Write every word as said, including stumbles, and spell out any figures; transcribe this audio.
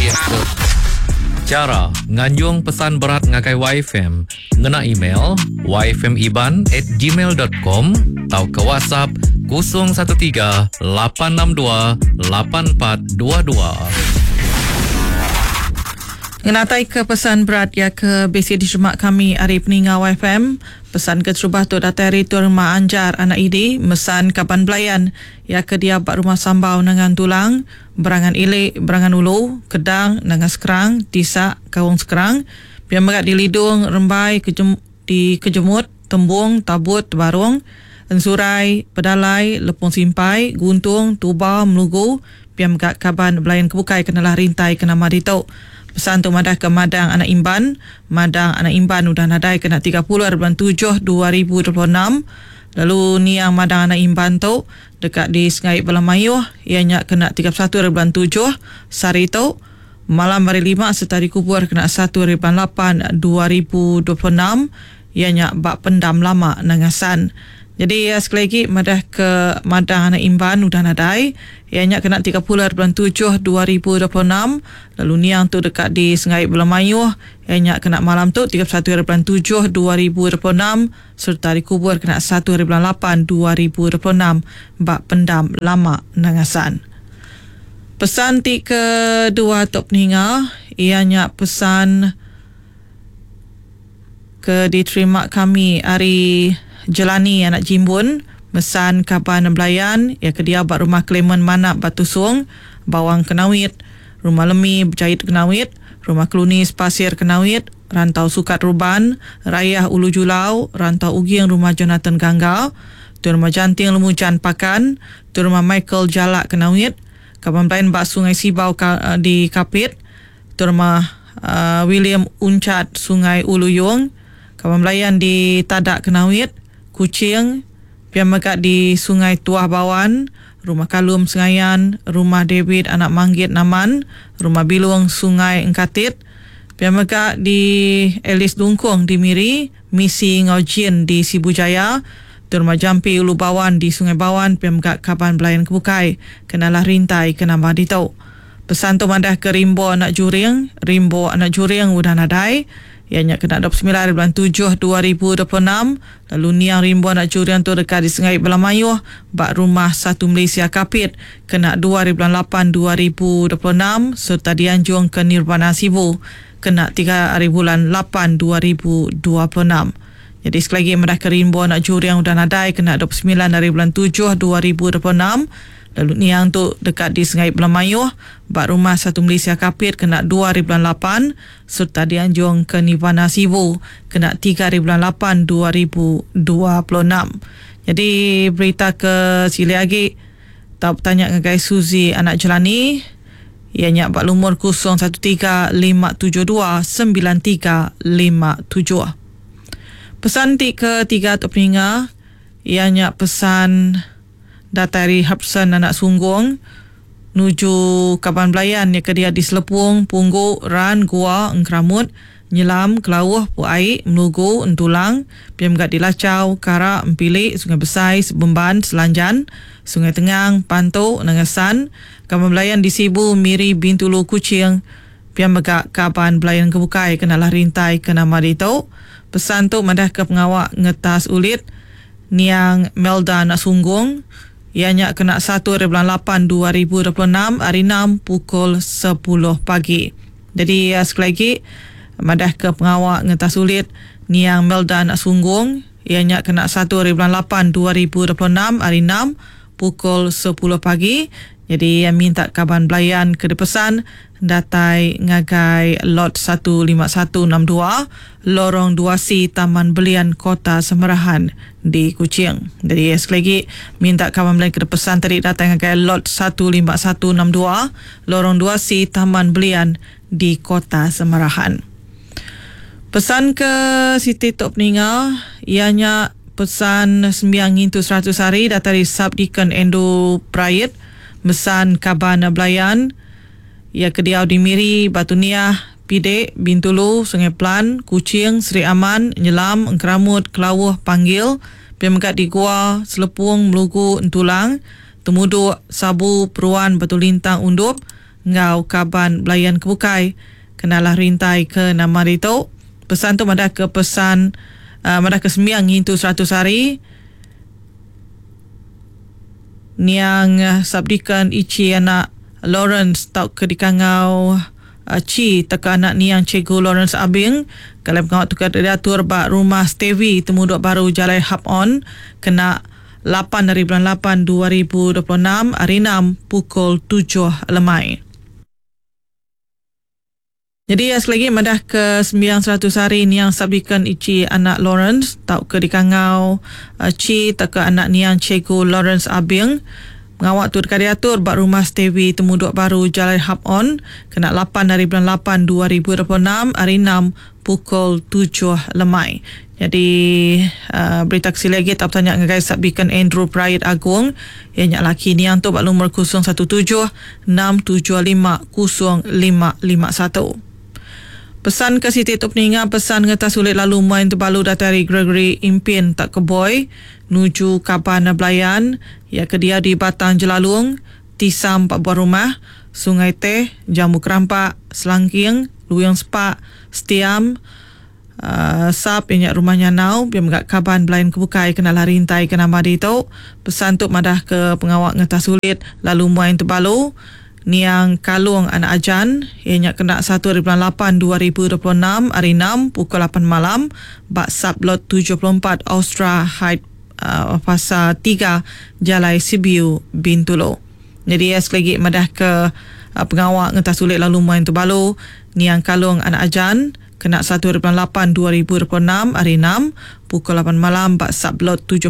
Nitih ke Chara nganjung pesan berat ngagai Y F M ngena email y f m iban at gmail dot com tauka WhatsApp kosong satu tiga lapan enam dua lapan empat dua dua. Ngenatai ke pesan berat ya ke B C diterima kami hari peninga Y F M. Pesan ke terubah tu datai hari tu rumah Anjar anak Idi mesan kaban belayan ya ke dia bak rumah Sambau Nangan Tulang, Berangan Ilik, Berangan Ulu, Kedang, Nangan Sekerang, Tisak, Kaung Sekerang, Pia Megat di Lidung, Rembai, Kejem, di Kejemut, Tembung, Tabut, Tebarung, Ensurai, Pedalai, Lepung Simpai, Guntung, Tuba, Melugu, Pia Megat kaban belayan kebukai kenalah rintai ke nama ditu. Pesan tu madah ke Madang Anak Imban. Madang Anak Imban udah nadai kena tiga puluh bulan tujuh dua ribu dua puluh enam. Lalu niang Madang Anak Imban tu dekat di Sengai Bala Mayuh, ianya kena tiga puluh satu bulan tujuh sehari tu. Malam hari lima serta dikubur kena satu bulan lapan dua ribu dua puluh enam, ianya bak pendam lama Nangasan. Jadi ya, sekali lagi madah ke Madang Anak Imban udah nadai, ianya kena tiga puluh bulan tujuh dua ribu dua puluh enam. Lalu niang tu dekat di Sengai Bala Mayuh, ianya kena malam tu tiga puluh satu bulan tujuh dua ribu dua puluh enam serta dikubur kena satu bulan lapan dua ribu dua puluh enam bak pendam lama Nangasan. Pesan ti kedua tok peninga, ianya pesan ke diterima kami hari Jelani anak Jimbun, mesan kaban belayan ya ke dia bak rumah Clement Manap Batu Sung, Bawang Kenawit, Rumah Lemi Berjait Kenawit, Rumah Kelunis Pasir Kenawit, Rantau Sukat Ruban, Rayah Ulu Julau, Rantau Uging Rumah Jonathan Gangga, Tuan Rumah Janting Lemujan Pakan, Tuan Rumah Michael Jalak Kenawit, kaban belayan bak Sungai Sibau ka, di Kapit, Tuan Rumah, uh, William Uncat Sungai Ulu Yung, kaban belayan di Tadak Kenawit, Kuching, Pia Megat di Sungai Tuah Bawan, Rumah Kalum Sengayan, Rumah David Anak Manggit Naman, Rumah Bilung Sungai Engkatit, Pia Megat di Elis Dungkung di Miri, Misi Ngaujin di Sibu Jaya, Rumah Jampi Ulu Bawan di Sungai Bawan, Pia Megat Kaban Belayan Kebukai, Kenalah Rintai Kenambah Ditu. Pesan tu madah ke Rimbo Anak Juring, Rimbo Anak Juring udah nadai, ianya kena dua puluh sembilan bulan tujuh dua ribu dua puluh enam. Lalu niang Rimbo Anak Juring tu dekat di Sengai Bala Mayuh bak Rumah Satu Malaysia Kapit kena dua bulan lapan dua ribu dua puluh enam serta dianjung ke Nirvana Sibu kena tiga hari bulan lapan dua ribu dua puluh enam. Jadi sekali lagi madah ke Rimbo Anak Juring udah nadai kena dua puluh sembilan hari bulan tujuh dua ribu dua puluh enam. Lalu niang tu dekat di Sengai Bala Mayuh bak Rumah Satu Malaysia Kapit kena dua hari bulan lapan serta dianjung ke Nirvana Sibu kena tiga hari bulan lapan dua ribu dua puluh enam. Jadi berita ke sili lagi tak bertanya dengan Suzy Anak Jelani, ianya bak lumur kosong satu tiga lima tujuh dua sembilan tiga lima tujuh. Pesan ti ketiga untuk peninga, ianya pesan datari Hapsan Anak Sunggung nuju Kaban Belayan yang kedia di Selepung, Punggu, Ran, Gua, Engkeramut, Nyelam, Kelauh, Puai, Melugu, Entulang, Piam Gad di Lacau, Karak, Empilik, Sungai Besai, Sebemban, Selanjan, Sungai Tengang, Pantu, Nangasan, Kaban Belayan di Sibu, Miri, Bintulu, Kuching, Piam Megak Kaban Belayan Kebukai kenalah rintai ke nama ditu. Pesan tu madah ke pengawak ngetas ulit Niang Melda Anak Sunggung, ianya kena satu hari bulan lapan dua ribu dua puluh enam hari enam pukul sepuluh pagi. Jadi ya, sekali lagi madah ke pengawak ngetas ulit Niang Melda Anak Sunggung, ianya kena satu hari bulan lapan dua ribu dua puluh enam hari enam pukul sepuluh pagi. Jadi yang minta kaban belayan ke depesan datai ngagai lot satu lima satu enam dua Lorong dua C Taman Belian Kota Semerahan di Kuching. Jadi sekali lagi minta kaban belayan ke depesan tadi datang ngagai lot satu lima satu enam dua Lorong dua C Taman Belian di Kota Semerahan. Pesan ke Siti Tok Peninga, ianya pesan sembiang ngintu seratus hari datang dari Subdeacon Endo Prayet, mesan kaban belayan ia kediau di Miri, Batu Niah, Pidek, Bintulu, Sungai Pelan, Kuching, Seri Aman, Nyelam, Engkeramut, Kelauh, Panggil, Piam Megat di Gua, Selepung, Melugu, Entulang, Temuduk, Sabu, Peruan, Batu Lintang, Undup, ngau kaban belayan kebukai kenalah rintai ke nama ditu. Pesan tu madah ke pesan uh, madah ke sembiang ngintu seratus hari niang uh, Sabdikan Ichi anak Lawrence tau ke dikangau uh, Chi teka anak niang Cikgu Lawrence Abing kalau pengawal tukar diatur ba rumah Stevie Temuduk Baru Jalai Hub On kena lapan dari bulan lapan dua ribu dua puluh enam hari enam pukul tujuh lemai. Jadi ya, sekali lagi madah ke sembilan seratus hari niang Sabdikan Ichi anak Lawrence tau ke dikangau uh, Chi tau ke anak niang Cikgu Lawrence Abing pengawak tu dekat diatur bak rumah Stevie Temuduk Baru Jalai Hub On kena lapan dari bulan lapan dua ribu dua puluh enam hari enam pukul tujuh lemai. Jadi uh, berita kesili lagi tak bertanya dengan Sabdikan Andrew Pride Agung yang nyak laki niang tu bak lumur kosong satu tujuh enam tujuh lima kosong lima lima satu. Pesan ke Siti tu peninga pesan ngetas sulit lalu main terbalu datari Gregory Impin tak ke boy nuju kaban belayan ya ke dia di Batang Jelalung Tisam empat buah rumah Sungai Teh Jambu Kerampak Selangking Luyang Sepak Setiam uh, Sap yang rumahnya nau biar megak kaban belayan kebukai kena lari rintai ke nama di tu. Pesan tu madah ke pengawak ngetas sulit lalu main terbalu niang Kalung anak Ajan ianya kena satu hari bulan lapan dua ribu dua puluh enam hari enam pukul lapan malam bak sublot tujuh puluh empat Austra Height uh, Fasa tiga Jalai Sibiu Bintulu. Jadi ya, sekali lagi madah ke uh, pengawak ngetas sulit lalu main terbalu niang Kalung anak Ajan kena satu hari bulan lapan dua ribu dua puluh enam hari enam pukul lapan malam bak sublot tujuh